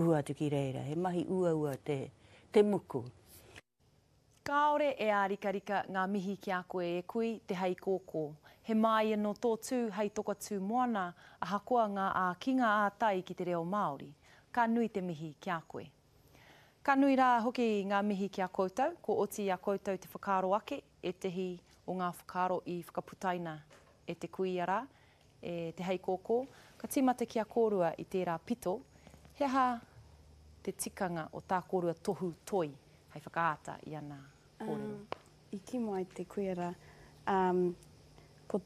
Kuhu atu ki reira, he mahi uaua te, te muku. Kāore e ārikarika ngā mihi ki a koe e kui, te heikōkō. He māia nō tō tū hei toka tū moana, ahakoa ngā ākinga ā-tai ki te reo Māori. Ka nui te mihi ki a koe. Ka nui rā hoki ngā mihi ki a koutou, kua oti i a koutou te whakaaro ake ētehi o ngā whakaaro i whakaputaina e te kuia rā, e te heikōkō, ka tīmata ki a kōrua i tērā pito, he aha te tikanga o tā kōrua tohu toi hei whakaata i ana kōrero? I kī mai te kuia rā, ko,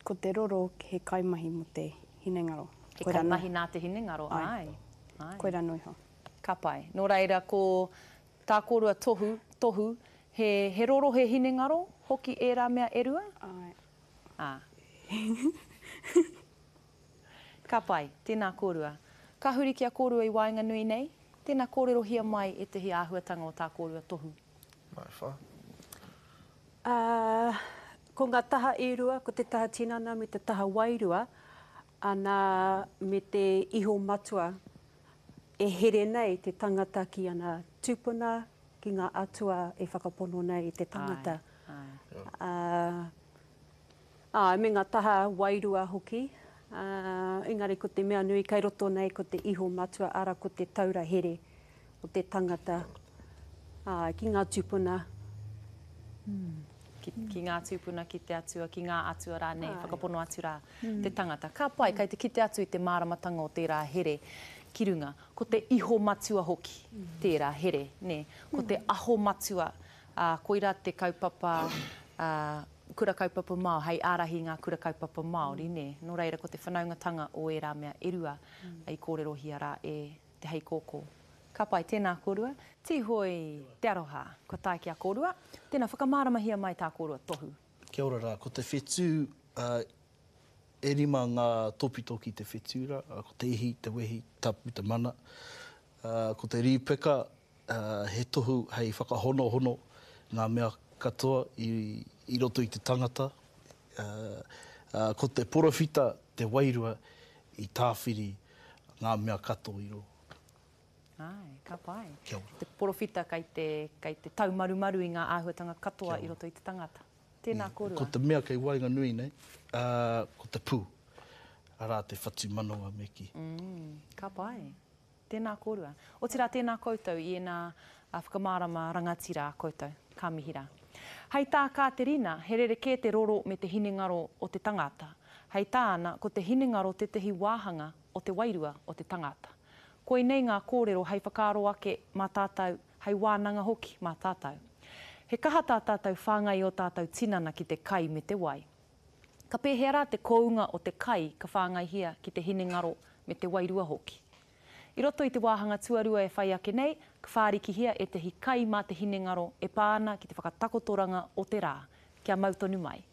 ko te roro he kaimahi mō te hinengaro. He kaimahi nā te hinengaro, āe, āe. Koirā noa iho. Ka pai. Nō reira, ko tā kōrua tohu, tohu, he, he roro he hinengaro hoki ērā mea e rua? Āe. Ā. Ka pai. Tēnā kōrua. Ka huri ki a kōrua i waenganui nei, tēnā kōrerohia mai ētahi āhuatanga o tā kōrua tohu. Mai wha. Ā, ko ngā taha e rua, ko te taha tinana me te taha wairua, ana, me te iho matua e here nei te tangata ki ana tūpuna, ki ngā atua e whakapono nei te tangata. Āe, āe. Ā, āe, me ngā taha wairua hoki, ā, engari ko te mea nui kei roto nei ko te iho matua, arā ko te taura here o te tangata, āe, ki ngā tūpuna. Ki, ki ngā tūpuna, ki te atua, ki ngā atua rānei, whakapono atu rā te tangata. Ka pai, kei te kite atu i te māramatanga o tērā here ki runga. Ko te iho matua hoki tērā here, nē. Ko te aho matua, ā, koirā te kaupapa, ā, kura kaupapa Māori, hei ārahi i ngā kura kaupapa Māori, nē. Nō reira, ko te whanaungatanga o ērā mea e rua i kōrerohia rā e Te Heikōkō. Ka pai, tēnā kōrua. Tīhoi te aroha, kua tae ki a kōrua. Tēnā, whakamāramahia mai tā kōrua tohu. Kia ora rā, ko te whetū, ā, e rima ngā tōpito ki te whetū rā, ko te ihi, te wehi, tapu, te mana. Ā, ko te rīpeka, ā, he tohu hei whakahonohono ngā mea katoa i, i roto i te tangata. Ā, ā, ko te porowhita, te wairua i tāwhiri ngā mea katoa i rō. Āe, ka pai. Kia ora. Te porowhita kei te, kei te taumarumaru i ngā āhuatanga katoa i roto i te tangata. Tēnā kōrua. Ko te mea kei waenganui nei, ā, ko te pū, arā te whatumanawa me kī. Mm, ka pai. Tēnā kōrua. Otirā tēnā koutou i ēnā whakamārama rangatira a koutou. Ka mihi rā. Hei tā Kāterina, he rerekē te roro me te hinengaro o te tangata. Hei tāna, ko te hinengaro tētahi wāhanga o te wairua o te tangata. Koinei ngā kōrero hei whakaaro ake mā tātou, hei wānanga hoki mā tātou. He kaha tā tātou whāngai i ō tātou tinana ki te kai me te wai. Ka pēhea rā te kounga o te kai ka whāngaihia ki te hinengaro me te wairua hoki? I roto i te wāhanga tuarua e whai ake nei, ka whārikihia ētahi kai mā te hinengaro e pā ana ki te whakatakotoranga o te rā, kia mau tonu mai.